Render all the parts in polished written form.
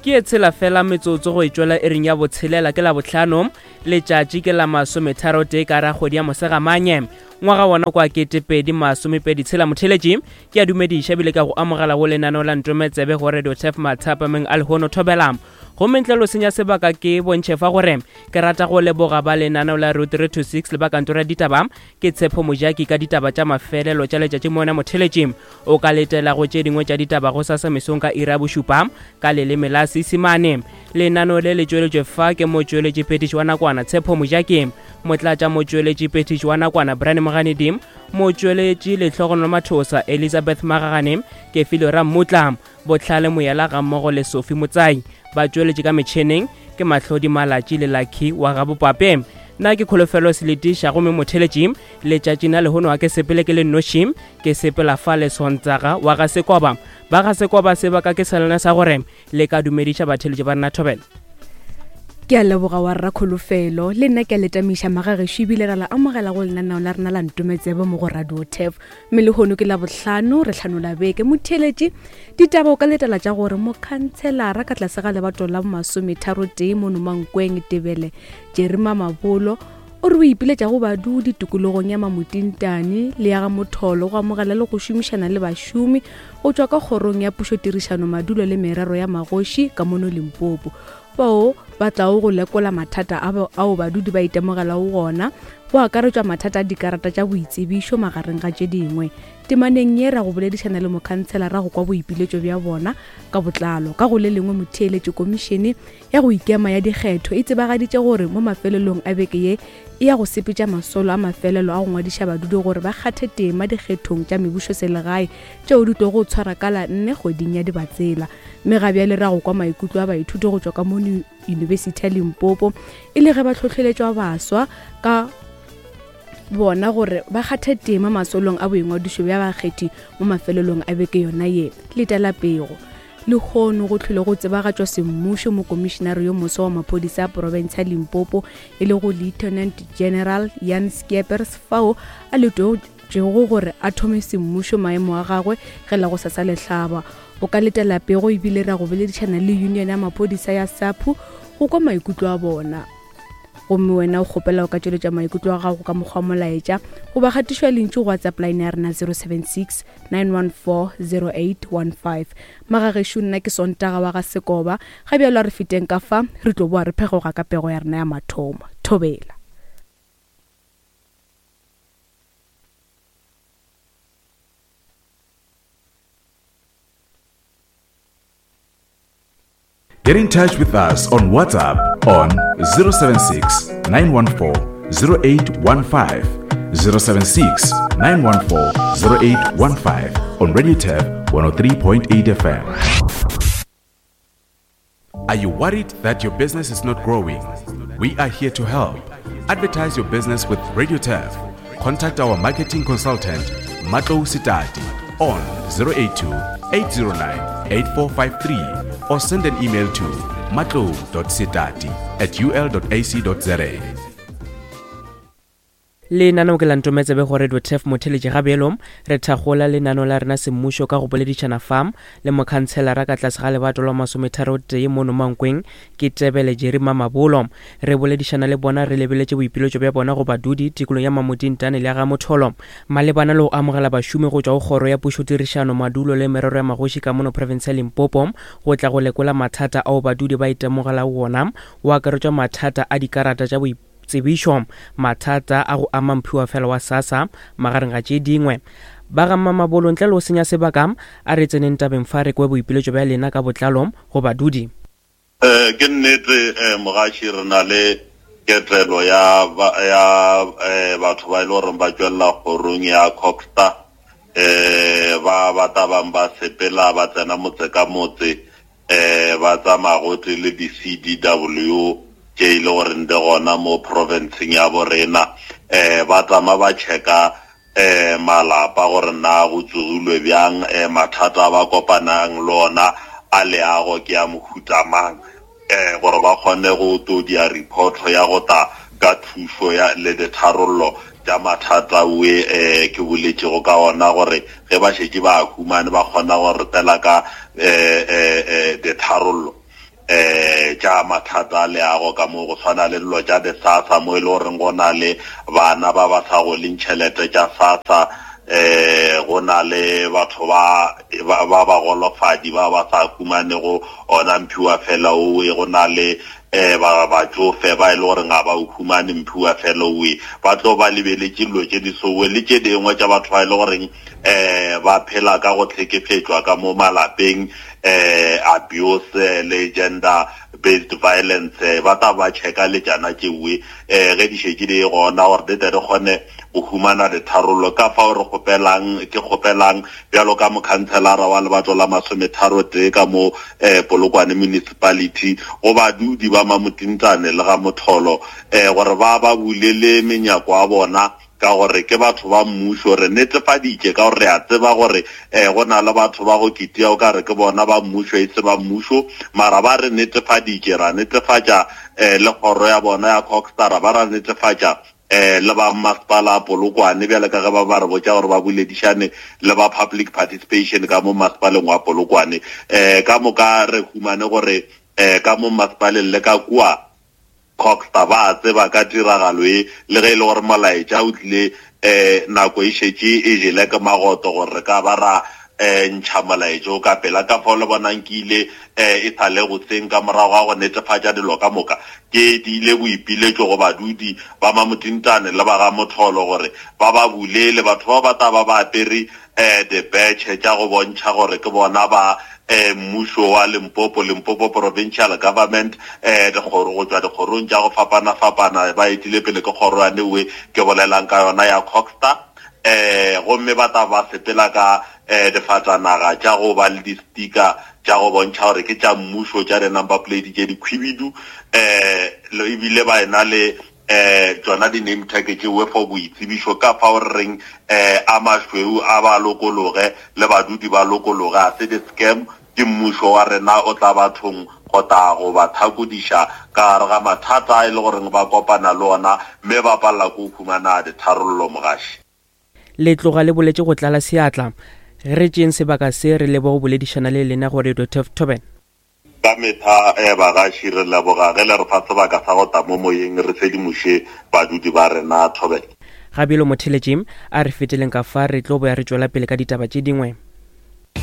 Ke e tshela fela metsotso go e tšwela iring ya botshelela ke Labohlano, letšatši ke la masometharotee ka ra kgwedi ya Mosegamanye, ngwaga wona kwa 2026. Motheeletši, ke a dumediša ebile ka go amogela go lenaneo la Ntometsebe go Radio Turf mathapameng a lehono thobela. Gomme ntle lo senya sebaka ke bontšhe fa gore ke rata go leboga ba lenaneo la Route 326 le ba kantoro ya ditaba ke Tshepo Mojaki ka ditaba tša mafelelo tša letšatši mona motheeletši. O ka letela go tše dingwe tša ditaba gosasa mesong ka iri ya bošupa ka leleme la Seisemane. Lenaneo le le tšweletšwe fa ke motšweletšiphethiši wa nakwana Tshepo Mojaki, motlatšamotšweletšiphethiši wa nakwana Brian Moganedi, motšweletši Lehlogonolo Mathosa, Elizabeth Magagane, Kefilwe Rammutla, Bohlale Moyela gammogo le Sophie Motsai. Ba tšweletše ka metšheneng ke Mahlodi Malatši le Lucky wa Gabopape. Nna ke Kholofelo Seletiša gomme motheletši letšatšing la lehono ga ke sepele ke le nnoši, ke sepela fa le Sontaga wa ga Sekoba. Ba ga Sekoba sebaka ke sa lena sa gore le ka dumediša batheletši ba rena thobela. Ke a leboga wa rra Kholofelo. Le nna ke a le tamiša magagešo ebile ra la amogela go lenaneo la rena la Ntometsebe mo go Radio Turf. Mme lehono ke Labohlano, re hlanola beke. Motheeletši, ditaba o ka letela tša gore mokhantshelara ka tlase ga lebato la bomasometharotee mono Mankweng, Tebele, Jerry Mamabolo, o re o ipiletša go badudi tikologong ya Mamotintane le ya ga Motholo go amogela le go šomišana le bašomi go tšwa ka kgorong ya pušotirišano madulo le merero ya magoši ka mono Limpopo bao ba tlago go lekola mathata ao badudi ba itemogelago gona go akaretšwa mathata a dikarata tša boitsebišo magareng ga tše dingwe. Temaneng ye ra go boledišana le mokhantshelara go kwa boipiletšo bja bona ka botlalo. Ka go le lengwe motheeletši komišene ya go ikema ya dikgetho e tsebagaditše gore mo mafelelong a beke ye e ya go sepetša masolo a mafelelo a go ngwadiša badudi gore ba kgathe tema dikgethong tša mebušoselegae tšeo di tlogo tshwara ka la nne kgweding ya Dibatsela. Mme ga bjale ra go kwa maikutlo a baithuti go tšwa ka mono Yunibesithi ya Limpopo e le ge ba hlohleletšwa baswa ka bona gore ba kgathe tema masolong a boingwadišo bja bakgethi mo mafelelong a beke yona ye. Letela pego. Lehono go hlwile go tsebagatšwa semmušo mokomišenare yo moswa wa maphodisa a profense ya Limpopo e lego Lieutenant General Jan Skeepers fao a letotšego gore a thome semmušo maemo a gagwe ge la gosasa le hlaba. O ka letela pego ebile ra go boledišana le union ya maphodisa ya SAPU go kwa maikutlo a bona. Gomme wena o kgopela o ka tšweletša maikutlo a gago ka mokgwa wa molaetša goba kgatišo ya lentšu go WhatsApp line ya rena 076 914 0815. Magagešo nna ke Sontaga wa ga Sekoba. Ga bjalo a re feteng ka fa, re tlo boa re phegoga ka pego ya rena ya mathomo. Thobela. Get in touch with us on WhatsApp on 076 914 0815. 076 914 0815 on Radio Tab 103.8 FM. Are you worried that your business is not growing? We are here to help. Advertise your business with Radio Turf. Contact our marketing consultant, Matlo Sitati, on 082 809 8453 or send an email to matlo.sitati at ul.ac.za. Lenaneo ke la Ntometsebe go Radio Turf Motheletši ga bjalo re thakgola lenaneo la rena semmušo ka go boledišana fa le mokhantshelara ka tlase ga lebato lwa masometharotee mono Mankweng ke Tebele Jerry Mamabolo. Re boledišana le bona re lebeletše boipiletšo bja bona go badudi tikolong ya Mamodintane le ya ga Motholo malebana le go amogela bašomi go tšwa go kgoro ya pušotirišano, madulo le merero ya magoši ka mono profense ya Limpopo go tla go lekola mathata ao badudi ba itemogelago wona go akaretšwa mathata a dikarata tša boitsebišo, mathata a go ama mphiwafela wa SASSA magareng ga tše dingwe. Ba ga Mmamabolo ntle le go senya sebaka a re tseneng tabeng fa re kwe boipiletšo bja lena ka botlalo go badudi. Ke nnete mogaši re na le ketelo ya ya batho ba e le goreng ba tšwelela kgorong ya Cogsta ba ba tla bang ba sepela ba tsena motse ka motse ba tsamaya gotee le di-CDW tše e le goreng di gona mo provinceng ya borena ba tsamaya ba checka um malapa gore na go tsogilwe bjang um mathata a ba kopanang le ona a leago ke a mohuta mang um gore ba kgone go to dia reporto ya go ta ka thušo ya le ditharollo tša mathata we um ke boletšego ka ona gore ge ba šetše ba humane ba kgona go re tela ka um ditharollo. um tša mathata a leago ka mo go swana le dilo tša di-sassa mo e le goreng go na le bana ba ba sa goleng tšhelete tša sassa eh go na le batho ba ba ba golofadi ba ba sa humanego ona mphiwa fela owe go na le eh ba batsofe ba e le gore ga ba o humane mphiwa fela owe ba tlo ba lebeletše dilo tše di sowe le tše dingwe tša batho ba e le goreng eh ba phela ka go tlhekefetšwa ka mo malapeng eh abuse le gender based violence eh, ba tla ba checka le tšana tšewe eh ge di šetše di gona gore di tle re kgone go humana ditharollo ka fao re kgopelang ke kgopelang bjalo ka mokhanselara wa lebatlo la masometharo tee ka mo eh Polokwane municipality go badudi ba Mamotintane le ga Motholo eh gore ba ba bulele menyako ya bona ka gore ke batho ba mmušo. Re netefaditše ka gore re a tseba gore um go na le batho ba go kitia o ka re ke bona ba mmušo e se ba mmušo, mara ba re netefaditše, ra netefatša um le kgoro ya bona ya Cogstar, ra ba ra netefatša um le ba mmasepala Polokwane bjale ka ge ba ba re botša gore ba boledišane le ba public participation ka mo mmasepaleng wa Polokwane. Um ka moka re humane gore um ka mo mmasepaleng le ka kua Coxter ba a tseba ka tiragalo ye, le ge e le gore molaetša o tlile um nako e šetše e jele ke magoto gore re ka ba ra um ntšha molaetša o ka pela. Ka fao le bonang ke ile um e sa le goseng ka morago ga go netefatša dilo ka moka, ke diile boipiletšo go badudi ba Mamotintane le ba ga Motholo gore ba ba bulele. Batho bao ba tla ba ba apere um dibetšhe tša go bontšha gore ke bona ba um mmušo wa Limpopo, Limpopo Provincial Government, um dikgoro go tšwa dikgorong tša go fapana-fapana, ba etile pele ke kgoro ya newe ke bolelang ka yona ya Cogstar, um gomme ba tla ba sepela ka um difatanaga tša go ba le di-sticker tša go bontšha gore ke tša mmušo tša di-number plate tše dikhwibidu um ebile ba ena le eh tšona di-name tag tšewe for boitsebišo ka fao re reng eh a mašweu a ba lokologe le badudi ba lokologe a se di-scam ke mmušo wa rena o tla bathong go tla go ba thakodiša ka gare ga mathata a e le goreng ba kopana le ona mme ba palela ko humana ditharollo mogaši. Le tloga le boletše go tlala seatla. Re tšeeng sebaka se re lebo go boledišana le lena go Radio Turf Toben. Ka mehla bagaši re leboga ge le re fa sebaka sa go tla mo moyeng re sedimoše badudi ba rena. Thobela. Ga bjalo motheletši, a re feteleng ka fa re tlo boya re tšwela pele ka ditaba tše dingwe.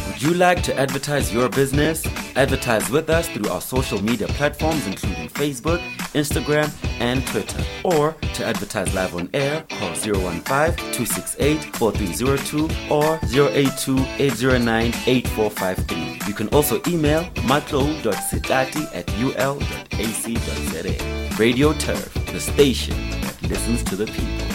Would you like to advertise your business? Advertise with us through our social media platforms including Facebook, Instagram, and Twitter. Or to advertise live on air, call 015-268-4302 or 082-809-8453. You can also email matlo.sitati at ul.ac.za. Radio Turf, the station that listens to the people.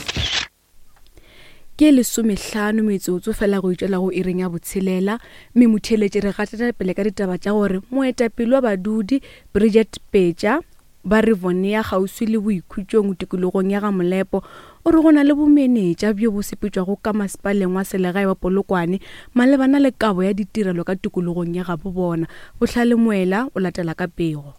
Ke lesomehlano metsotso fela go itšwela go iring ya botshelela, mme motheeletši re gatela pele ka ditaba tša gore moetapele wa badudi Bridget Petša ba Rivonia kgauswi le Boikhutšong tikologong ya Ga-Molepo o re go na le bomenetša bjo bo sepetšwago ka masepaleng wa selegae wa Polokwane malebana le kabo ya ditirelo ka tikologong ya gabo bona. Bohlale Moela o latela ka pego.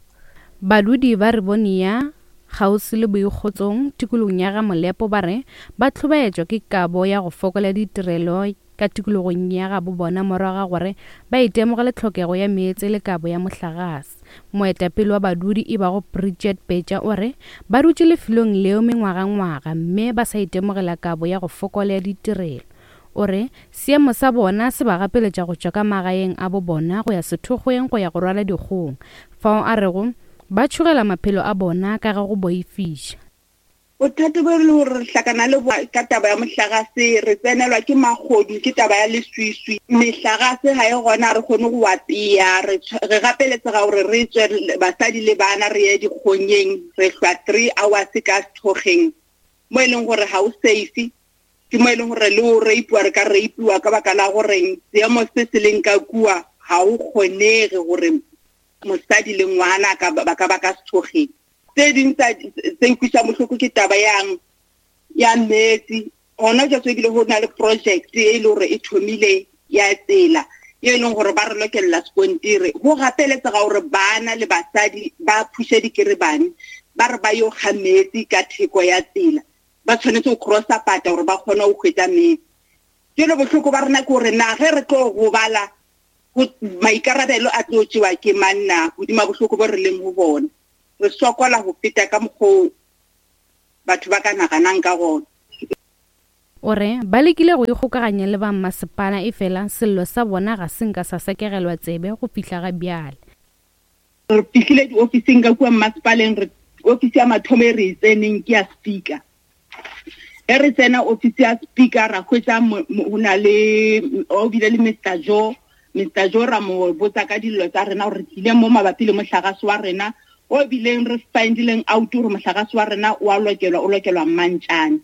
Badudi ba Rivonia kgauswi le Boikgotsong tikologong ya Ga-Molepo ba re ba hlobaetšwa ke kabo ya go fokola ditirelo ka tikologong ya gabo bona morago ga gore ba itemogele tlhokego ya meetse le kabo ya mohlagase. Moetapele wa badudi e bago Bridget Betša o re ba dutše lefelong leo mengwagangwaga mme ba sa itemogela kabo ya go fokola ya ditirelo. O re seemo sa bona se ba gapeletša go tšwa ka magaeng a bo bona go ya sethokgweng go ya go rwala dikgong, fao a rego ba tšhogela maphelo a bona ka ge go boifiša. Bothata bo e le gore re hlakana le bo ka taba ya mohlagase, re tsenelwa ke magodu ke taba ya leswiswi, mehlagase ga e gona re kgone go apea, re re gapeletsega gore re tswe basadi le bana re ye dikgonyeng, re hlwa three hours ka sethokgeng mo e leng gore ga o safe, ke mo e leng gore le o rapiwa re ka rapiwa ka baka la goreng seemo se se leng ka kua ga o kgonege gore mosadi le ngwana ba ka ba ka sethokgeng. Tse ding tsa tse nkwisang bohloko ke taba yang ya metsi gona jwa ebile go na le project e le gore e thomile ya tsela e leng gore ba re lokelela sekontiri go gapeletsega gore bana le basadi ba phushe dikerebane ba re ba yo ga metsi ka theko ya tsela ba tshwanetse go crossa pata gore ba kgone go hwetsa metsi jalo bohloko ba rena ke gore na ge re tlo gobala Maikarabelo a tlo tšewa ke mang na godima bohloko bo re leng go bona? Re sokola go feta ka mokgwa batho ba ka naganang ka gona. O re ba lekile go ikgokaganya le ba mmasepala efela sello sa bona ga se nka sa sekegelwa tsebe go fihla ga bjale. Re fihlile diofising ka kua mmasepaleng, re ofisi ya mathomo e re e tseneng ke ya speaker. Ge re tsena ofisi ya speaker ra hwetša go na le o bile le Mister Joe, Mister Joe ra mo botsa ka dillo tsa rena gore re tlile mo mabapi le mohlagase wa rena o bileng re findileng out gore mohlagase wa rena o a lokelwa, o lokelwa Mmantšane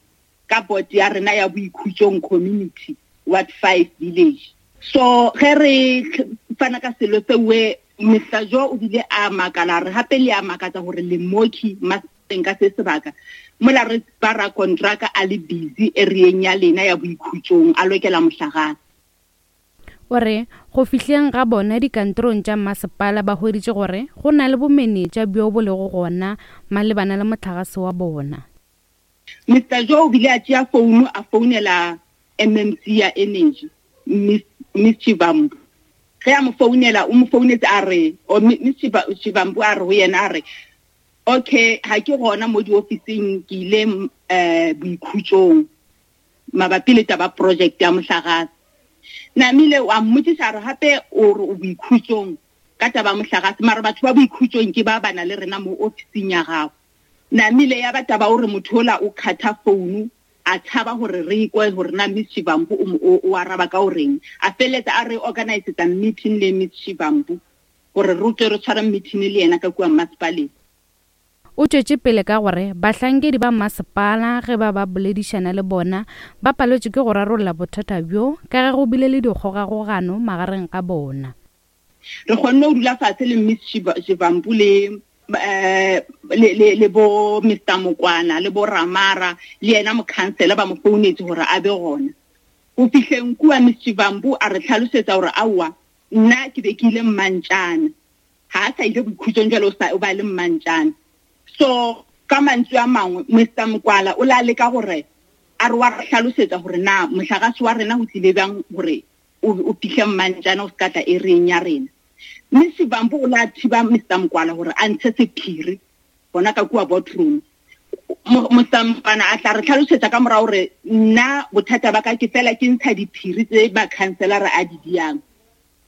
ka board ya rena ya Boikhutšong Community Ward 5 Village. So ge re fana ka selo seuwe Mister Joe o bile a makala re gape le a makatsa gore le moki masepaleng ka se sebaka mola re ba ra kontraka a le busy areeng ya lena ya Boikhutšong a lokela mohlagase. O re go fihleng ga bona dikantorong tša mmasepala ba hweditše gore go na le bomenetša bjo bo lego gona malebana le mohlagase wa bona. Mister Joe o bile a tšea founu a founela MMC ya Energy, Miss, Miss Chivambu. Ge a mo founela, o mo founetse a re, o Miss Chivambu a re go yena a re, okay, ga ke gona mo diofising, ke ile um boikhutšong mabapi le taba project ya mohlagase. Namile a mmotšiša a re gape o re o boikhutšong ka taba ya mohlagase, mara batho ba boikhutšong ke ba ba na le rena mo ofising ya gago. Namile ya ba taba o re motho ola o khatha founu a tshaba gore re kwe gore na Miss Shivambu o, o, o araba ka o reng. A feleletsa a re organisetsa meeting le Miss Shivambu gore re tle re tshware meeting le yena ka kua mmasepaleng. O tšwetše pele ka gore bahlankedi ba mmasepala ge ba ba boledišana le bona ba paletšwe ke go rarolla bothata bjo ka ge go bile le dikgogakgogano magareng ga bona. Re kgonne go dula fatshe le Miss Shivambu le eh, le, le, le bo Mister Mokwana le bo Ramara le yena mokhansela ba mo founetse gore a be gona. Go fihleng kua Miss Shivambu a re tlhalosetsa gore aowa nna ke be ke ile Mmantšana, ga a sa ile boikhutšong jalo o ba le Mmantšana. So ka mantswe a mangwe Mister Mokwala o la leka gore a re wa re hlalosetsa gore na mohlagase wa rena go tlile bjang gore o fihle Mmantšana o se ka tla ereng ya rena. Mme Shivambu o la thiba Mister Mokwala gore a ntshe sephiri gona ka kua boardroom. Mister Mokwala a tla re tlhalosetsa ka morago gore nna bothata ba ka ke fela ke ntsha diphiri tse ba councilor a di diang.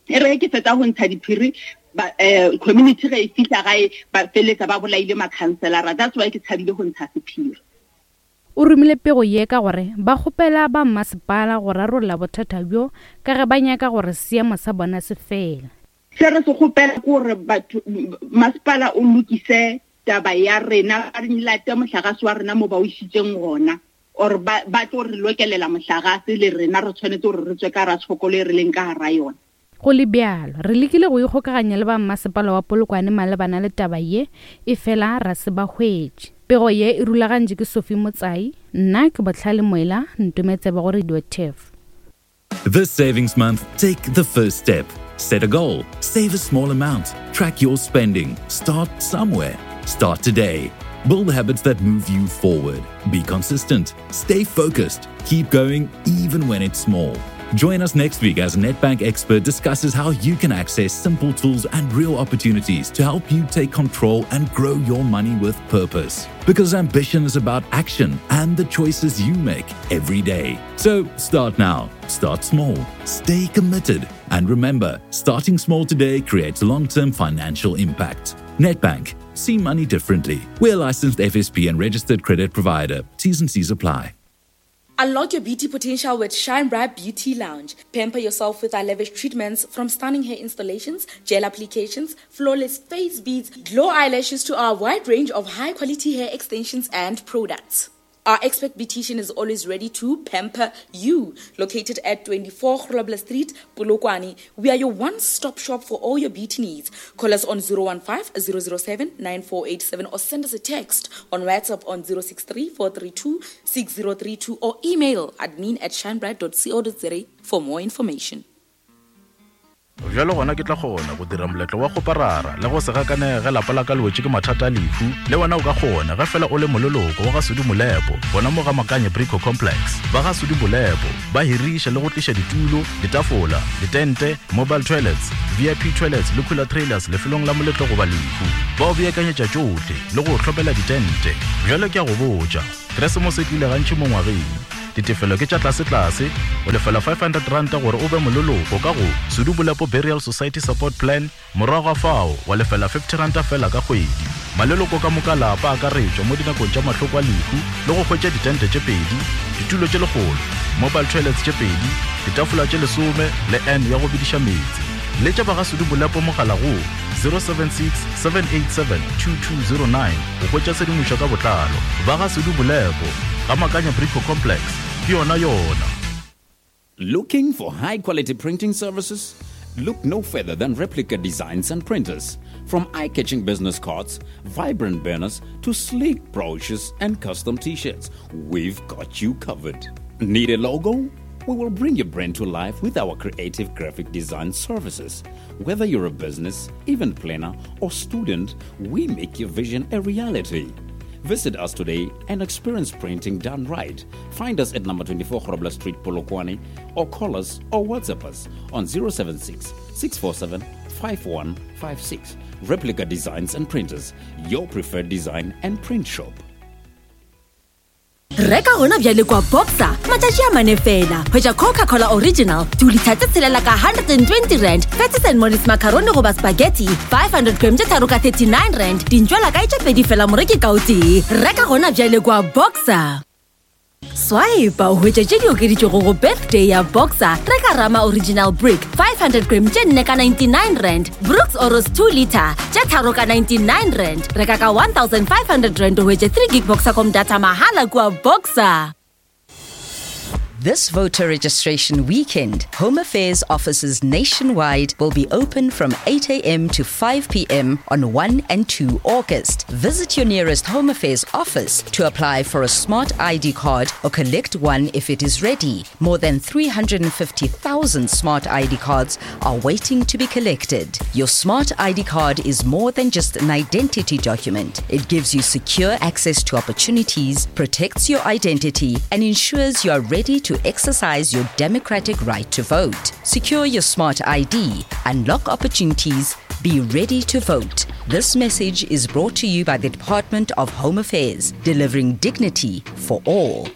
E re ke fetsa go ntsha diphiri ba, community ge e fihla gae ba feletsa ba bolaile ma-councilor. That's why ke tshabile go ntsha sephiri. O romile pego ye ka gore ba kgopela ba mmasepala go rarolla bothata bjo ka ge ba nyaka gore seemo sa bona se fele. Se re se kgopela ke gore batho, masepala o lokise taba ya rena, ba re late mohlagase wa rena mo ba o isitseng gona, or ba, ba tlo re lokelela mohlagase le rena re tshwanetse gore re tswe ka ra tshokolo e re leng ka gara yona. Go le bjalo, re lekile go ikgokaganya le ba mmasepala wa Polokwane malebana le taba ye, efela ra se ba hwetše. Pego ye e rulagantšwe ke Sophie Motsai, nna ke Bohlale Moela, Ntometsebe go Radio Turf. This savings month, take the first step. Set a goal, save a small amount, track your spending, start somewhere. Start today. Build habits that move you forward. Be consistent, stay focused, keep going even when it's small. Join us next week as Nedbank expert discusses how you can access simple tools and real opportunities to help you take control and grow your money with purpose. Because ambition is about action and the choices you make every day. So start now, start small, stay committed, and remember, starting small today creates long-term financial impact. Nedbank, see money differently. We're licensed FSP and registered credit provider. T's and C's apply. Unlock your beauty potential with Shine Bright Beauty Lounge. Pamper yourself with our lavish treatments, from stunning hair installations, gel applications, flawless face beads, glow eyelashes to our wide range of high-quality hair extensions and products. Our expert beautician is always ready to pamper you. Located at 24 Grobler Street, Polokwane, we are your one-stop shop for all your beauty needs. Call us on 015-007-9487 or send us a text on WhatsApp on 063-432-6032 or email admin at shinebright.co.za for more information. Bjalo gona ke tla kgona go dira moletlo wa kgoparara le go se gakanege ge lapa la ka le wetše ke mathata a lehu. Le wena o ka kgona ge fela o le moleloko wa ga Sudi Molepo gona mo ga Makanye Brico Complex. Ba ga Sudi Molepo ba hiriša le go tliša ditulo, ditafola, ditente, mobile toilets, VIP toilets le cooler trailers lefelong la moletlo goba lehu. Ba o beakanyetša tšohle le go o hlomela ditente. Bjalo ke a go botša, Keresemose e tlile gantši mo ngwageng. Ditefelo ke tša tlasetlase, o lefela R500 gore o be moleloko ka go Sudu Bolepo Burial Society Support Plan, morago ga fao wa lefela R50 feela ka kgwedi. Maleloko ka moka a lapa a akaretšwa mo dinakong tša mahloko a lehu le go hwetša ditente tše pedi, ditulo tše lekgolo, mobile toilets tše pedi, ditafola tše lesome le urn ya go bediša meetse. Letša ba ga Sudu Bolepo mogala go 076 787 2209 go hwetša tshedimošo ka botlalo. Ba ga Sudu Bolepo. Ga Makanya Brico Complex, ke yona yona. Looking for high quality printing services? Look no further than Replica Designs and Printers. From eye catching business cards, vibrant banners, to sleek brochures and custom t shirts, we've got you covered. Need a logo? We will bring your brand to life with our creative graphic design services. Whether you're a business, event planner, or student, we make your vision a reality. Visit us today and experience printing done right. Find us at number 24 Grobler Street, Polokwane, or call us or WhatsApp us on 076 647 5156. Replica Designs and Printers, your preferred design and print shop. Reka gona bjale kwa Boxer matšatši a mane fela. Hwetša Coca-Cola Original dilitha tše tshelela ka 120 rand, Patties and Mollies macaroni goba spaghetti 500 gram tše tharo ka 39 rand, dintšwela kae tše pedi fela moreki ka o tee. Reka gona bjale kwa Boxer. Swipe o hwetše tše di okeditšwego go birthday ya Boxer. Reka Rama Original Brick 500 gram tše nne ka 99 rand, Brooks Oros 2 liter tše tharo ka 99 rand. Reka ka 1500 rand o hwetše 3 gig Boxercom data mahala kua Boxer. This voter registration weekend, Home Affairs offices nationwide will be open from 8 a.m. to 5 p.m. on 1 and 2 August. Visit your nearest Home Affairs office to apply for a smart ID card or collect one if it is ready. More than 350,000 smart ID cards are waiting to be collected. Your smart ID card is more than just an identity document. It gives you secure access to opportunities, protects your identity, and ensures you are ready to exercise your democratic right to vote. Secure your smart ID, unlock opportunities, be ready to vote. This message is brought to you by the Department of Home Affairs, delivering dignity for all.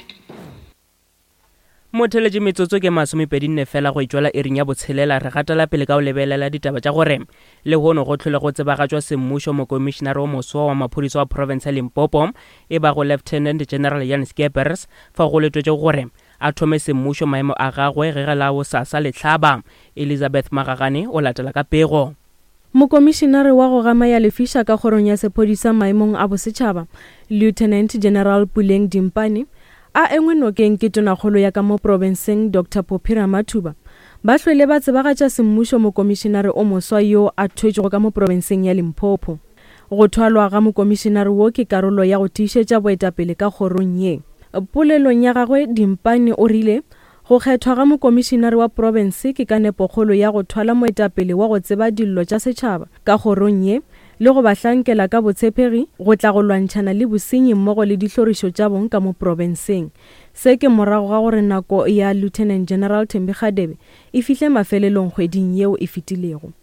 Motheletše metsotso ke masomepedinne fela go etšwela iring ya botshelela re gatela pele ka go lebelela ditaba tša gore lehono go hlole go tsebagatšwa semmušo mokomišenare o moswa wa maphodisa wa profense ya Limpopo e bago Lieutenant General Jan Skeepers fa go letwetšego gore a thome semmušo maemo a gagwe ge ge la bosasa le hlaba. Elizabeth Magagane o latela ka pego. Mokomišenare wa go gama ya lefiša ka kgorong ya sephodisa maemong a bosetšhaba, Lieutenant General Puleng Dimpane, a engwe nokeng ke Tonakgolo ya ka mo profenseng Doctor Phophi Ramathuba, ba hlwele ba tsebagatša semmušo mokomišenare o moswa yo a thwetšwego ka mo profenseng ya Limpopo. Go thwalwa ga mokomišenare wo ke karolo ya go tiišetša boetapele ka kgorong ye. Polelong ya gagwe Dimpane o rile Go kgethwa ga mokomišinare wa profense ke ka nepokgolo ya go thwala moetapele wa go tseba dillo tša setšhaba ka kgorong ye le go ba hlankela ka botshepegi go tla go lwantšhana le bosenyi mmogo le dihlorišo tša bong ka mo profenseng. Se ke morago ga gore nako ya Lieutenant General Thembi Kgadebe e fihle mafelelong kgweding yeo e fetilego.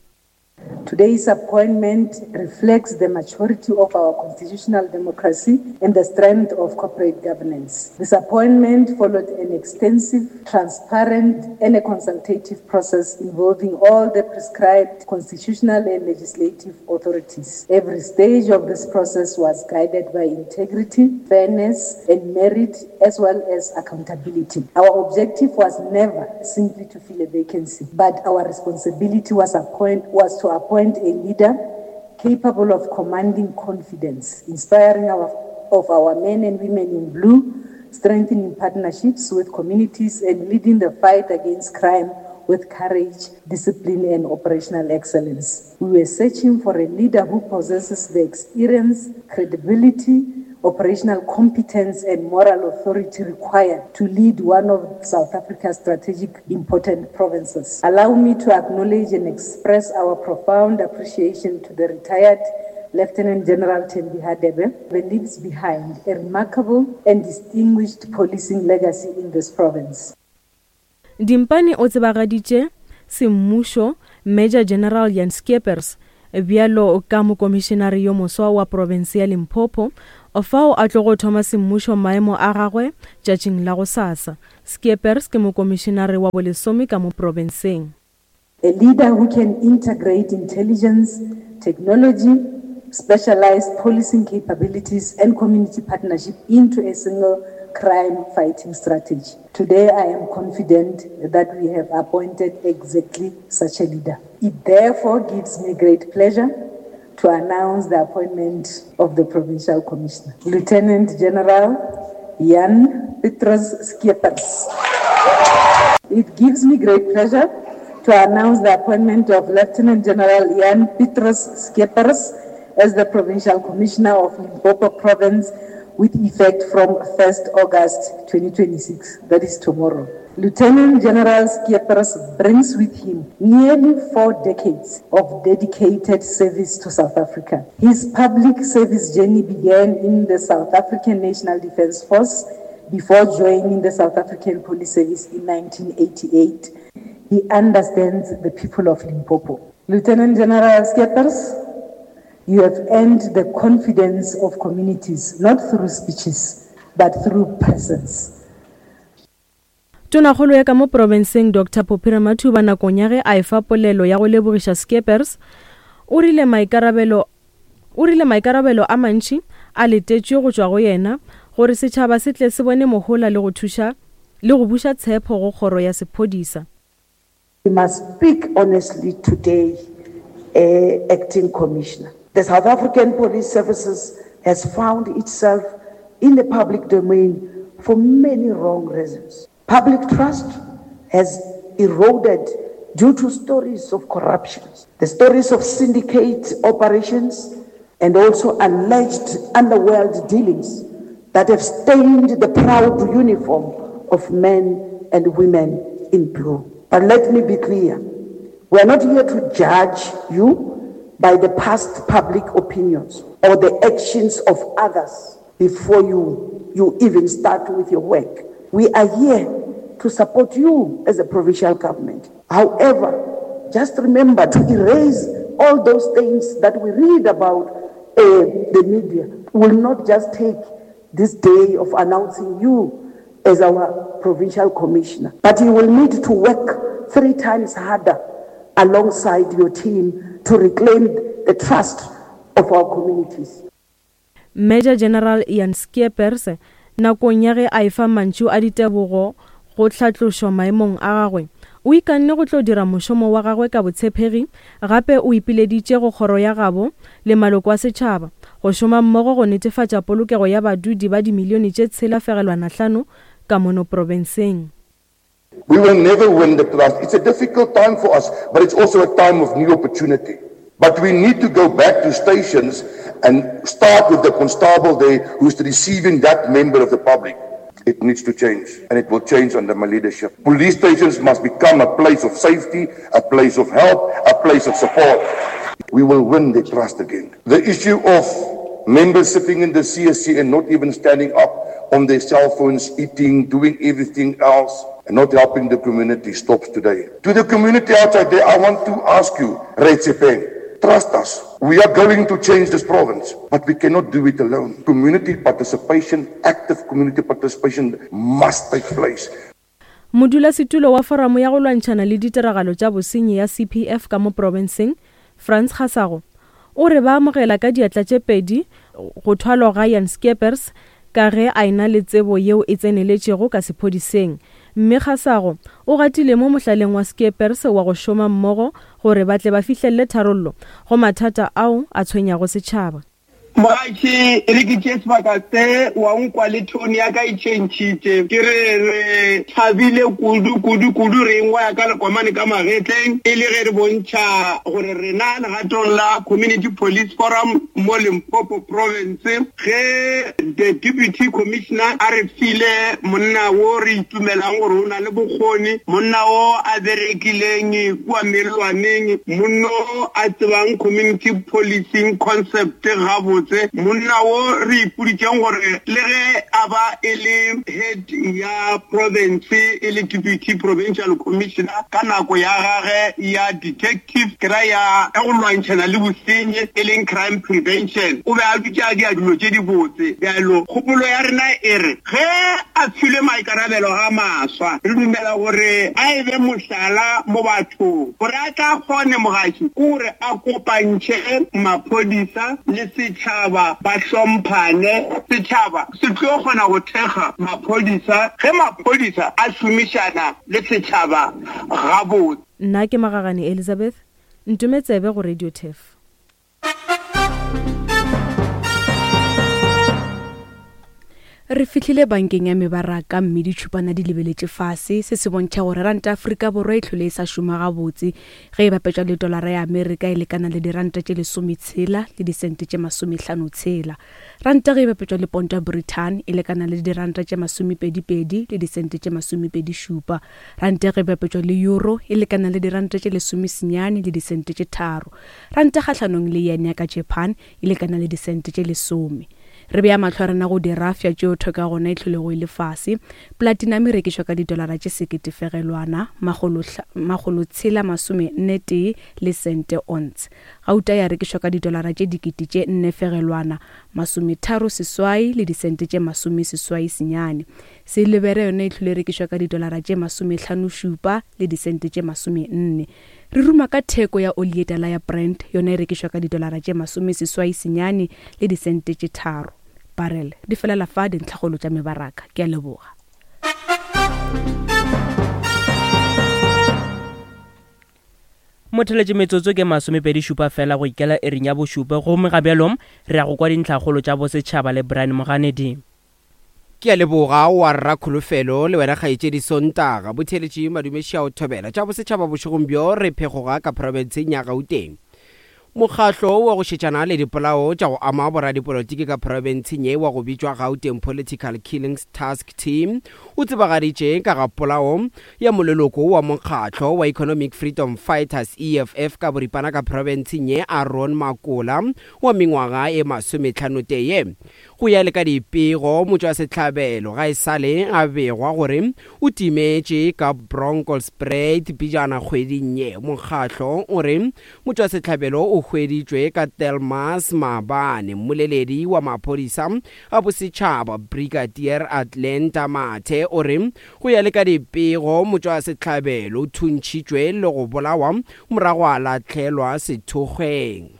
Today's appointment reflects the maturity of our constitutional democracy and the strength of corporate governance. This appointment followed an extensive, transparent, and a consultative process involving all the prescribed constitutional and legislative authorities. Every stage of this process was guided by integrity, fairness, and merit, as well as accountability. Our objective was never simply to fill a vacancy, but our responsibility was, appoint, was to appoint a leader capable of commanding confidence, inspiring our, of our men and women in blue, strengthening partnerships with communities, and leading the fight against crime with courage, discipline, and operational excellence. We were searching for a leader who possesses the experience, credibility, operational competence, and moral authority required to lead one of South Africa's strategic important provinces. Allow me to acknowledge and express our profound appreciation to the retired Lieutenant General Thembi Hadebe, who leaves behind a remarkable and distinguished policing legacy in this province. Dimpane o tsebagaditše semmušo Major General Jan Scheepers bjalo ka mokomišenare yo moswa wa profense ya Limpopo, fao a tlogo thoma semmušo maemo a gagwe tšatšing la gosasa. Scheepers ke mokomišenare wa bolesome ka mo profenseng. A leader who can integrate intelligence, technology, specialized policing capabilities, and community partnership into a single crime fighting strategy. Today, I am confident that we have appointed exactly such a leader. It therefore gives me great pleasure to announce the appointment of the Provincial Commissioner, Lieutenant General Jan Petrus Skeepers. It gives me great pleasure to announce the appointment of Lieutenant General Jan Petrus Skeepers as the Provincial Commissioner of Limpopo Province with effect from 1st August 2026, that is tomorrow. Lieutenant General Skeepers brings with him nearly four decades of dedicated service to South Africa. His public service journey began in the South African National Defence Force before joining the South African Police Service in 1988. He understands the people of Limpopo. Lieutenant General Skeepers, you have earned the confidence of communities, not through speeches, but through presence. Tonakgolo ya ka mo profenseng Doctor Phophi Ramathuba nakong ya ge a efa polelo ya go lebogiša Skeepers o rile maikarabelo o rile maikarabelo a mantši a letetšwe go tšwa go yena gore setšhaba se tle se bone mohola le go thuša le go buša tshepho go kgoro ya sephodisa. We must speak honestly today, uh, Acting Commissioner. The South African Police Services has found itself in the public domain for many wrong reasons. Public trust has eroded due to stories of corruption, the stories of syndicate operations, and also alleged underworld dealings that have stained the proud uniform of men and women in blue. But let me be clear we are not here to judge you by the past public opinions or the actions of others before you, you even start with your work. We are here to support you as a provincial government. However, just remember to erase all those things that we read about uh, the media will not just take this day of announcing you as our provincial commissioner, but you will need to work three times harder alongside your team to reclaim the trust of our communities. Major General Ian Skeepers nakong ya ge a efa mantšu a ditebogo go hlatlošwa maemong a gagwe, o ikanne go tlo dira mošomo wa gagwe ka botshepegi gape o ipileditše go kgoro ya gabo le maloko a setšhaba go šoma mmogo go netefatša polokego ya badudi ba dimilione tše 6.5 ka mono profenseng. We will never win the trust. It's a difficult time for us, but it's also a time of new opportunity. But we need to go back to stations and start with the constable there who's receiving that member of the public. It needs to change, and it will change under my leadership. Police stations must become a place of safety, a place of help, a place of support. We will win the trust again. The issue of members sitting in the CSC and not even standing up on their cell phones, eating, doing everything else, and not helping the community stops today. To the community outside there, I want to ask you, Retsepeng, trust us. We are going to change this province, but we cannot do it alone. Community participation, active community participation must take place. Modulasetulo wa Foramo ya go Lwantšhana le Ditiragalo tša Bosenyi ya CPF ka mo profenseng, Frans Kgasago, o re ba amogela ka diatla tše pedi go thwalwa ga Jan Skeepers ka ge a ena le tsebo yeo e tseneletšego ka sephodiseng. Mme Kgasago o gatile mo mohlaleng wa Skeepers wa go šoma mmogo gore ba tle ba fihlelele tharollo go mathata ao a tshwenyago setšhaba. Mogatši, e re ke tšee sebaka se, wa nkwa le tone ya ka e tšhentšhitše. Ke re re thabile kudu, kudu, kudu, re engwa ya ka lekomane ka magetleng, e le ge re bontšha gore rena legatong la Community Police Forum mo Limpopo Province, ge the Deputy Commissioner a re file monna wo re itumelang gore o na le bokgoni, monna wo a berekileng kua mellwaneng, monna wo a tsebang community policing concept gabotse, monna wo re ipoditšeng gore le ge a ba e le head ya province, e le Deputy Provincial Commissioner ka nako ya gage ya detective, ke ra ya go lwantšhana le bosenyi e leng crime prevention, o be a dutše a dia dilo tše dibotse. Bjalo kgopolo ya rena e re ge a filwe maikarabelo a maswa, re dumela gore a e be mohlala mo bathong gore a tla kgone mogaši ke gore a kopantšhe maphodisa le setšhaba ba hlomphane. Setšhaba se tlo kgona go thekga maphodisa ge maphodisa a šomišana le setšhaba gabotse. Nna ke Magagane Elizabeth, ntome tsebe go Radio Turf. Re fihlile bankeng ya mebaraka mme ditšhupana di lebeletše fase. Se se bontšha gore ranta Afrika Borwa e hlole e sa šoma gabotse ge e bapetšwa le tolara ya Amerika e lekana le diranta tše lesometshela le disente tše masomehlano-tshela. Ranta ge e bapetšwa le ponto ya Britain e lekana le diranta tše masomepedi-pedi le disente tše masomepedi-šupa. Ranta ge e bapetšwa le euro e lekana le diranta tše lesomesenyane le disente tše tharo. Ranta kgahlanong le yen ya ka Japan e lekana le disente tše lesome. Re bea mahlo a rena go dirafša tšeo theko ya gona e hlolego e le fase. Platinum e rekišwa ka didolara tše sekete fegelwana makgolo makgolo tshela masome nne tee le sente once. Gauta ya rekišwa ka didolara tše dikete tše nne fegelwana masometharo seswai le disente tše masome seswai senyane. Silibere yona e hlole e rekišwa ka didolara tše masomehlano šupa le disente tše masome nne. Re ruma ka theko ya oli ye tala ya Brent, yona e rekišwa ka didolara tše masomeseswai senyane le disente tše tharo. Barrel, di felela fa dintlhakgolo tša mebaraka. Ke a leboga. Motheletše metsotso ke masomepedi šupa fela go ikela iring ya bošupa gomme ga bjalo re ya go kwa dintlhakgolo tša bosetšhaba le Brian Moganedi. Ke a leboga wa rra Kholofelo le wena kgaetšedi Sontaga. Botheeletši Madume Šiao Thobela. Tša bosetšhaba bošegong bjo re phegoga ka profenseng ya Gauteng. Mokgahlo wa go šetšana le dipolao tša go ama boradipolotiki ka profenseng ye wa go bitšwa Gauteng Political Killings Task Team o tsebagaditše ka ga polao ya moleloko wa mokgahlo wa Economic Freedom Fighters, EFF, ka boripana ka profenseng ye Aaron Makola wa mengwaga e masometlhanotee. Go ya le ka dipego, motšwasehlabelo ga e sa le a begwa gore o timetše ka Bronkhorstspruit pejana kgweding ye. Mokgatlo o re motšwasehlabelo o hweditšwe ka Delmas maabane. Mmoleledi wa maphodisa a bosetšhaba, Brigadier Atlanta Mathe o re go ya le ka dipego, motšwasehlabelo o thuntšhitšwe le go bolawa morago a lahlelwa sethokgweng.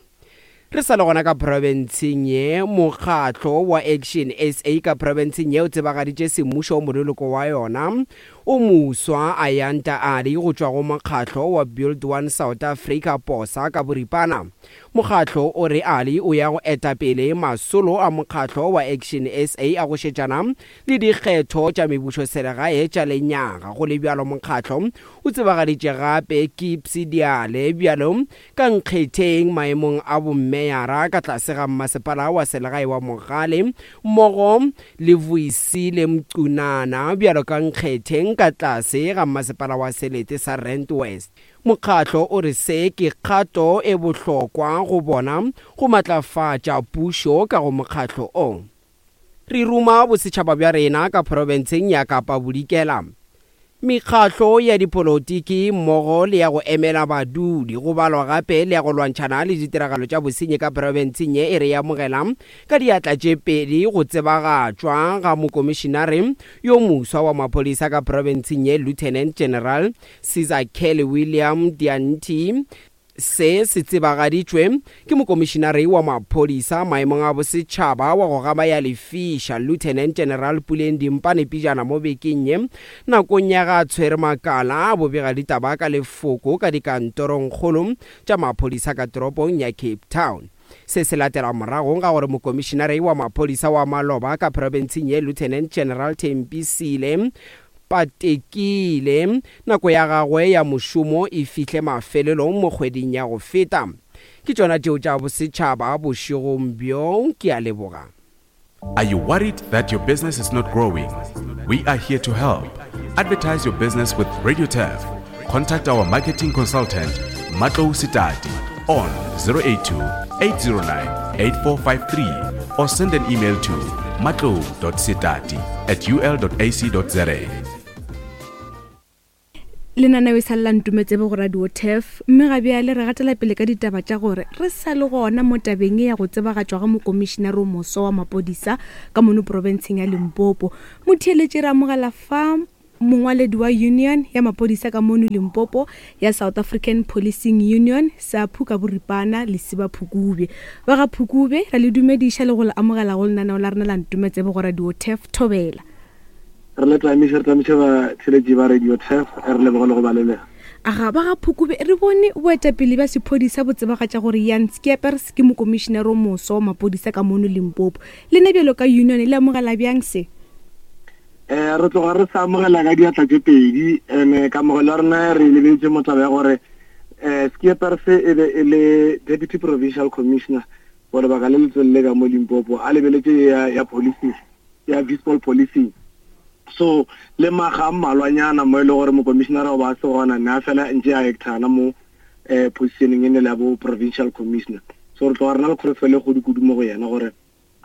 Re sa le gona ka profenseng ye, mokgatlo wa Action SA ka profenseng ye o tsebagaditše semmušo moleloko wa yona o moswa Ayanda Ali go tšwa go mokgatlo wa Build One South Africa, BOSA, ka boripana. Mokgatlo o re Ali o ya go eta pele masolo a mokgatlo wa Action SA a go šetšana le dikgetho tša mebušoselegae tša lenyaga. Go le bjalo mokgatlo o tsebagaditše gape Kipsy Diale bjalo Ka nkgetheng maemong a bommeyara ka tlase ga mmasepala wa selegae wa Mogale mmogo le Vuyisile Mcunana bjalo ka nkgetheng ka tlase ga mmasepala wa selete sa Rand West. Mokgatlo o re se ke kgato e bohlokwa go bona go matlafatša pušo ka go mokgatlo o. Re ruma bosetšhaba bja rena ka profenseng ya Kapa Bodikela. Mekgatlo ya dipolotiki mmogo le ya go emela badudi, go balwa gape le ya go lwantšhana le ditiragalo tša bosenyi ka profenseng ye e re e amogela ka diatla tše pedi go tsebagatšwa ga Mokomišinare yo moswa wa maphodisa ka profenseng ye Lieutenant General Sizakele William Dyanti. Se se tsebagaditšwe ke Mokomišinare wa Maphodisa maemong a Bosetšhaba wa go gama ya lefiša, Lieutenant General Puleng Dimpane pejana mo bekeng ye, nakong ya ge a tshwere makala a bobegaditaba ka lefoko ka dikantorongkgolo tša maphodisa ka toropong ya Cape Town. Se se latela morago ga gore mokomišinare wa maphodisa wa maloba ka profenseng ye Lieutenant General Thembi Sile Patekile nako ya gagwe ya mošomo e fihle mafelelong mo kgweding ya go feta. Ke tšona tšeo tša bosetšhaba bošegong bjo. Ke a leboga. Are you worried that your business is not growing? We are here to help. Advertise your business with Radio Turf. Contact our marketing consultant, Matlo Sitati, on 082 809 8453 or send an email to matlo.sitati at ul.ac.za. Lenaneo e sa le la Ntumetsebe go Radio Turf, mme ga bjale re gatela pele ka ditaba tša gore re sa le gona mo tabeng ye ya go tsebagatšwa ga mokomišinare o moso wa mapodisa ka mono profenseng ya Limpopo. Motheeletši re amogela fa mongwaledi wa Union ya mapodisa ka mono Limpopo ya South African Policing Union, SAPU ka boripana, Lesiba Phukubje. Ba ga Phukubje, ra le dumediša le go le amogela go lenaneo la rena la Ntumetsebe go Radio Turf. Thobela. Re le tlamiše, re tlamiše batheeletši ba Radio Turf, re leboge le go ba lelega. Aga ba ga Phukube, re bone boetapele bja sephodisa bo tsebagatša gore Jan Skeepers ke mokomišinare o moso wa maphodisa ka mono Limpopo. Lena bjalo ka union le amogela bjang se? Eh, re tloga re sa amogela ka diatla tše pedi, ene kamogelo ya rena re e lebeletše mo taba ya gore eh Skeepers e be e le Deputy Provincial Commissioner for lebaka le letelele ka mo Limpopo, a lebeletše ya, ya policing. ya Vispol Policing. So le maga a mmalwanyana mo e le gore mokomišenara o ba a se gona ne a fela ntše a actana mo eh positioneng e ne le ya bo provincial commissioner. So re tloga re na le kholofelo e kgolo kudu mo go yena gore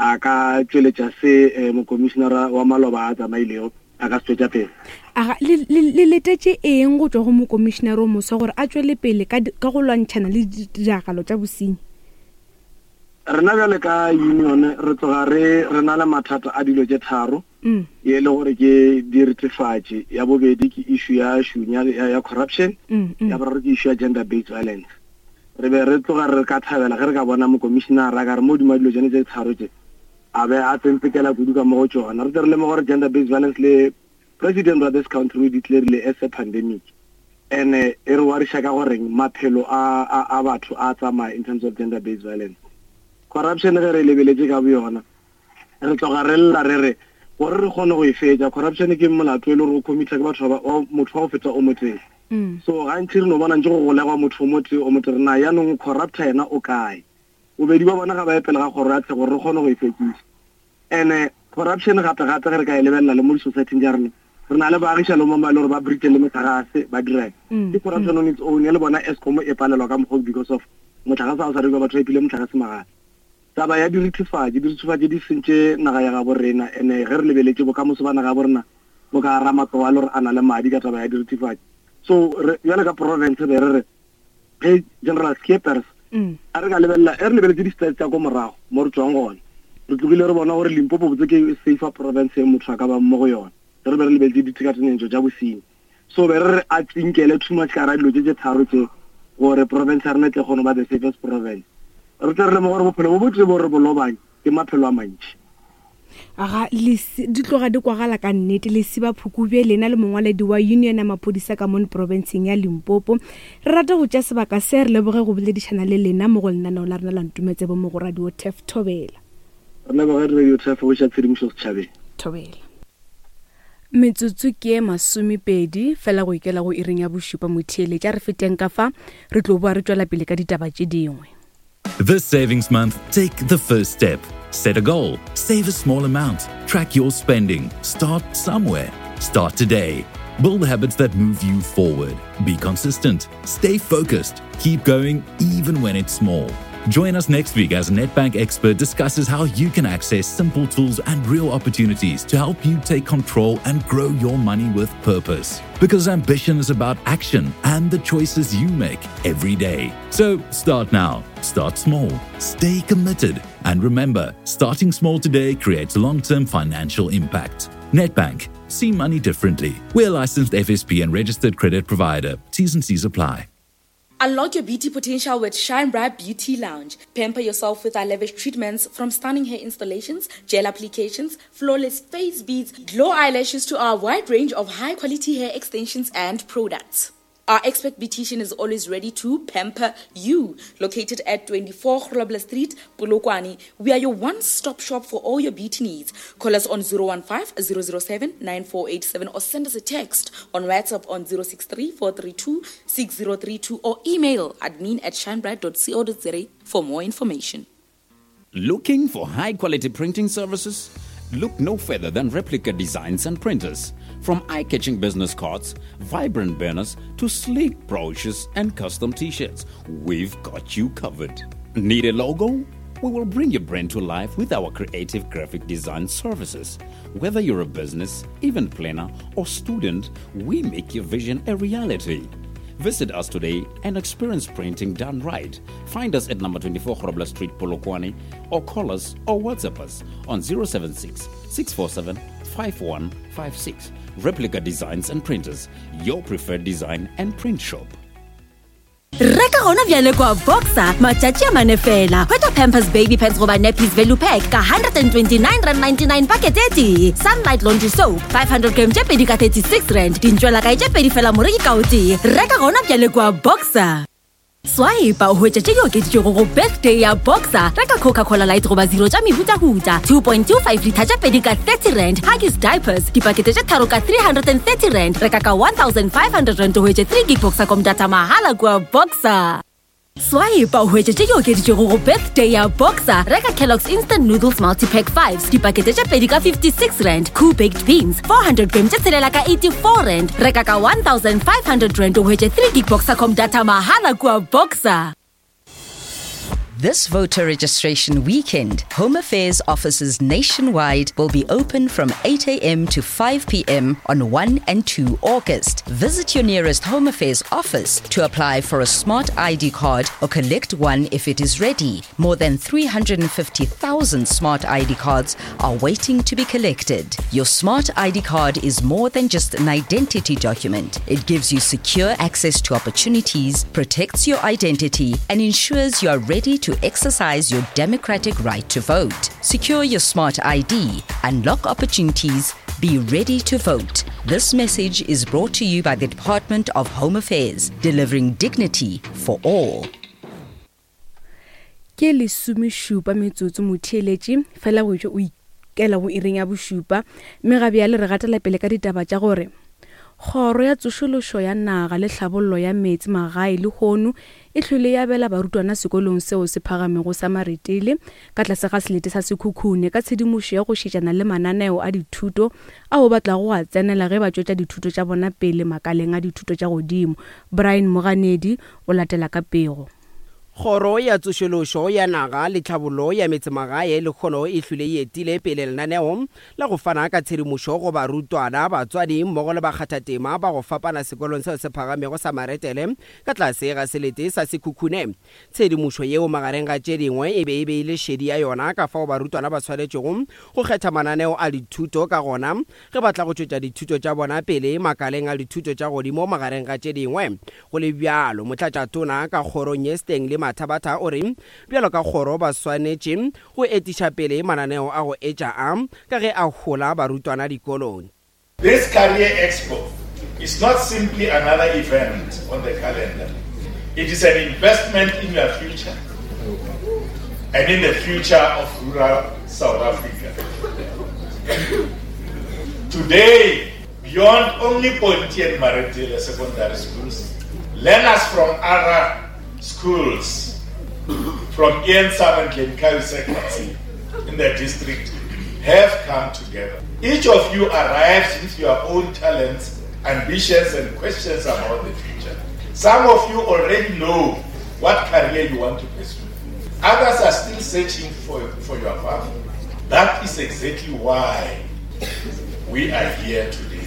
a ka tšweletša se eh, mokomišenara wa maloba a tsamailego a ka se tšwetša pele. Aga le, le, le letetše eng go tšwa go mokomišenara o moswa gore a tšwele pele ka, ka go lwantšhana le ditiragalo tša bosenyi? Rena bjale ka union re tloga re re na le mathata a dilo tše tharo mm. ye le gore ke diretefatši ya bobedi ke issue ya šunya ya, ya corruption mm, mm. ya boraro ke issue ya gender based violence re be re tloga re ka thabela ge re ka bona mokomišenara ka re mo dima dilo tsone tse tharo tse a be a tsentsekela kudu ka mo go tsona re tle re lemoga gore gender based violence le president wa this country o declarile as a pandemic and e re wariša ka goreng maphelo a, a, a batho a tsamaya in terms of gender based violence. Corruption ge re e lebeletše ka boyona re tloga re lla re re gore re kgone go e fetša corruption ke molato e le gore o committa ke batho ba motho wa go feta o motee mm. so gantši re no bona ntse go golegwa motho o motee o motee re na yaanong corrupta yena o kae bobedi ba bona ga ba ye pele ga kgoro ya tsheko gore re kgone go e fetšiša Ene corruption gape gape ge re ka e lebelela le mo di-society tša rena re na le baagiša le mo ba e le gore ba breache le metlagase ba dirang mm, ke corruption mm. on its own ya le bona Eskom e palelwa ka mokgwa because of motlagase ga o sa rekiwa batho ba ipile motlagase magala taba ya dirithifatši dirithifatši di sentše naga ya gabo rena ene ge re lebeletše bokamoso ba naga ya bo rena bo ka gara matlogo a le gore a na le madi ka taba ya dirithifatši so bjale ka province be re re ge General Skeepers mm. a re ka lebelela e re lebeletse di-stats tsa ko morago mo re tswang gone re tlogile re bona gore Limpopo botse ke safer province e motho a ka bang mo go yone re be re lebeletse ditekatenyetso tša bosenyi so be re re a tsinkele too much ka ra dilo tse tse tharo tse gore province ya rena e tle kgone ba the safest province re tle re lemoga gore bophelo bo botse bo re bo lobang ke maphelo a mantši Aga lesi di tloga di kwagala ka nnete. Lesiba Phukubje lena le mongwaledi wa Union ya Maphodisa ka mono profenseng ya Limpopo. Re rata go tšea sebaka se re leboge go boledišana le lena mo go lenaneo la rena la Ntumetsebo mo go Radio Turf Thobela. Re leboge Radio Turf go iša tshedimošo setšhabeng. Thobela. Metsotso ke e masomepedi fela go ikela go iring ya bošupa motheeletši. A re feteng ka fa re tlo boa re tšwela pele ka ditaba tše dingwe. This savings month, take the first step. Set a goal, save a small amount, track your spending, start somewhere. Start today. Build habits that move you forward. Be consistent, stay focused, keep going even when it's small. Join us next week as Nedbank expert discusses how you can access simple tools and real opportunities to help you take control and grow your money with purpose. Because ambition is about action and the choices you make every day. So start now, start small, stay committed, and remember starting small today creates long term financial impact. Nedbank, see money differently. We're licensed FSP and registered credit provider. T's and C's apply. Unlock your beauty potential with Shine Bright Beauty Lounge. Pamper yourself with our lavish treatments from stunning hair installations, gel applications, flawless face beads, glow eyelashes to our wide range of high quality hair extensions and products. Our expert beautician is always ready to pamper you. Located at 24 Grobler Street, Polokwane, we are your one-stop shop for all your beauty needs. Call us on 015 007 9487 or send us a text on WhatsApp on 063 432 6032 or email admin at shinebright.co.za for more information. Looking for high quality printing services? Look no further than Replica Designs and Printers. From eye catching business cards, vibrant banners, to sleek brochures and custom t shirts, we've got you covered. Need a logo? We will bring your brand to life with our creative graphic design services. Whether you're a business, event planner, or student, we make your vision a reality. Visit us today and experience printing done right. Find us at number 24 Grobler Street, Polokwane, or call us or WhatsApp us on 076 647 5156. Replica Designs and Printers, your preferred design and print shop. Reka gona bjale kwa Boxer matšatši a mane fela. Hwetša Pampers Baby Pants goba Nappies Value Pack ka R129.99 pakete e tee. Sunlight Laundry Soap 500 gram tše pedi ka R36. Dintšwelakae tše pedi fela moreki ka o tee. Reka gona bjale kwa Boxer. Swipe o hwetše tše di okeditšwego go birthday ya Boxer. Reka Coca-Cola Light goba Zero tša mehutahuta 2.25 litha tše pedi ka R30. Huggies Diapers dipakete tše tharo ka R330. Reka ka R1500 o hwetše 3 gig Boxercom data mahala kua Boxer. Swipe o hwetše tše di okeditšwego go birthday ya Boxer. Reka Kellogg's Instant Noodles Multipack 5s dipakete tše pedi ka R56. Koo Baked Beans 400 gram tše tshelela ka R84. Reka ka R1500 o hwetše 3 gig Boxercom data mahala kua Boxer. This voter registration weekend, Home Affairs offices nationwide will be open from 8 a.m. to 5 p.m. on 1 and 2 August. Visit your nearest Home Affairs office to apply for a smart ID card or collect one if it is ready. More than 350,000 smart ID cards are waiting to be collected. Your smart ID card is more than just an identity document. It gives you secure access to opportunities, protects your identity, and ensures you are ready to exercise your democratic right to vote. Secure your smart ID, unlock opportunities, be ready to vote. This message is brought to you by the Department of Home Affairs, delivering dignity for all. Ke lesomešupa metsotso motheeletši fela go etšwe o ikela go iring ya bošupa mme ga bjale re gatela pele ka ditaba tša gore Kgoro ya Tsošološo ya Naga le Tlhabollo ya Meetse Magae lehono e hlwele ya abela barutwana sekolong seo se phagamego sa Maretele ka tlase ga selete sa Sekhukhune ka tshedimošo ya go šetšana le mananeo a dithuto ao ba tlago go a tsenela ge ba tšwetša dithuto tša bona pele makaleng a dithuto tša godimo. Brian Moganedi o latela ka pego. Kgoro ya Tsošološo ya Naga le Tlhabollo ya Metsemagae lehono e hlwile e etile pele lenaneo la go fana ka tshedimošo go barutwana, batswadi mmogo le bakgathatema ba go fapana sekolong seo se phagamego sa Maretele ka tlase ga selete sa Sekhukhune. Tshedimošo yeo magareng ga tše dingwe e be e beile šedi ya yona ka fao barutwana ba swanetšego go kgetha mananeo a dithuto ka gona ge ba tla go tšwetša dithuto tša bona pele makaleng a dithuto tša godimo magareng ga tše dingwe. Go le bjalo, Motlatšatona ka kgorong ye Stanley Mathabatha o re bjalo ka kgoro ba swanetše go etiša pele mananeo a go etša a ka ge a hola barutwana dikolong. This Career Expo is not simply another event on the calendar. It is an investment in your future and in the future of rural South Africa. Today, Beyond only Ponti and Maretele secondary schools, learners from other schools, from Ian Sam and Glencoe Secondary in the district, have come together. Each of you arrives with your own talents, ambitions, and questions about the future. Some of you already know what career you want to pursue. Others are still searching for, for your path. That is exactly why we are here today.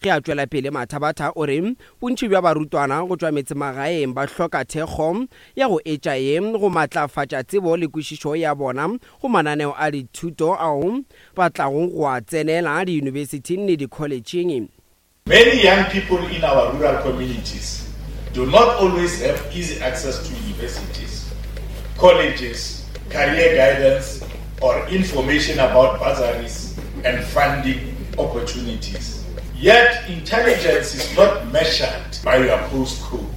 Ge a tšwela pele Mathabatha o re bontši bja barutwana go tšwa metsemagaeng ba hloka thekgo ya go etša ye go matlafatša tsebo le kwešišo ya bona go mananeo a dithuto ao ba tlago go a tsenela diyunibesithing le dikholetšheng. Many young people in our rural communities do not always have easy access to universities, colleges, career guidance, or information about bursaries and funding opportunities. Yet intelligence is not measured by your postcode.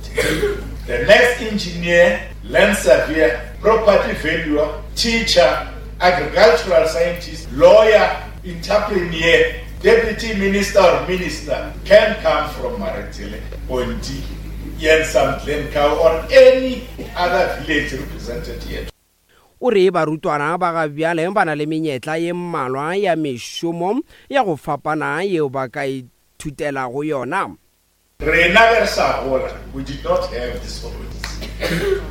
The next engineer, land surveyor, property valuer, teacher, agricultural scientist, lawyer, entrepreneur, deputy minister or minister can come from Maretele, Ponti, Jensam, Glencoe or any other village represented here. O re barutwana ba ga bjale ba na le menyetla ye mmalwa ya mešomo ya go fapana yeo ba ka ithutelago yona. Rena ge re sa gola, we did not have these opportunities.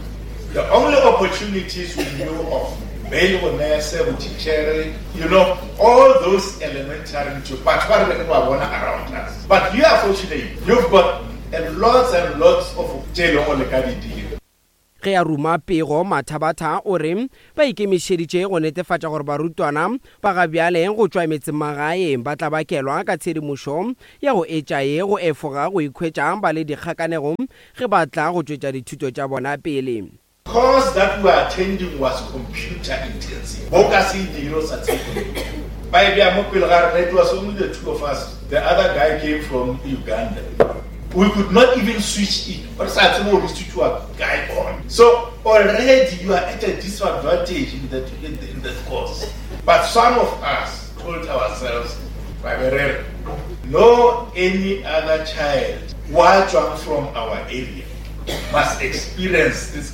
The only opportunities we knew of, be e le bonese, botitšhere, you know, all those elementary ntho, batho ba re be re ba bona around us. But you are fortunate, you've got a lots and lots of tše e leng gore le ka di dira. Ge a ruma pego, Mathabatha o re ba ikemišeditše go netefatša gore barutwana ba ga bjale go tšwa metsemagaeng ba tlabakelwa ka tshedimošo ya go etša ye go efoga go ikhwetša ba le dikgakanegong ge ba tla go tšwetša dithuto tša bona pele. Course that we were attending was computer intensive. Bo ka se e dire o sa tsebe computer. Ba e bea mo pele ga rena, it was only the two of us, the other guy came from Uganda. We could not even switch it, re sa tsebe gore e switchiwa kae gona. So already you are at a disadvantage in the, in the, in the course. But some of us told ourselves, ra be re re, no any other child wa tšwang from our area must experience this kind.